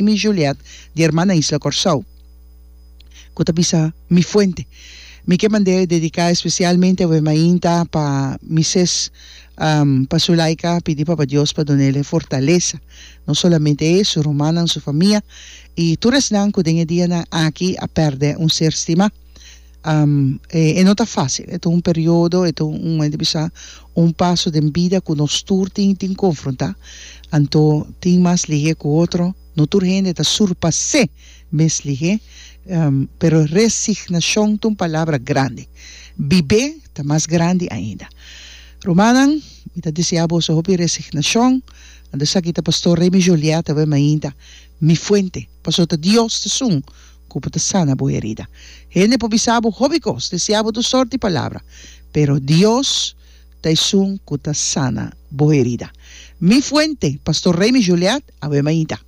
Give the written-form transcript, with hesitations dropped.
Remy Juliet di Hermana Isla Kòrsou ku ta bisa Mi Fuente. Mi ke mand'é dediká espesialmente awe mainta pa mi ses pa Sulaika pidi Papa Dios pa dun'el e fortalesa, no solamente e, su rumannan, su famia i tur esnan ku den e dianan aki a pèrdè un ser stimá. E no ta fásil, e ta un periodo, e ta un, men ta bisa, un paso den bida ku nos tur tin tin konfrontá. Anto tin mas lihé ku otro, no tur hende ta surpas'é mes lihé, pero resignashon ta un palabra grandi. Bib'é ta mas grandi ainda. Rumannan, mi ta deseá boso hopi resignashon. Anto esaki ta Pastor Remy Joliet awe mainta, Mi fuente, pasobra ta Dios ta esun ku bo ta sana bo herida. Hende por bisa bo hopi kos, deseá bo tur sort di palabra, pero Dios ta esun ku ta sana bo herida. Mi fuente, Pastor Remy Juliet, awe mainta.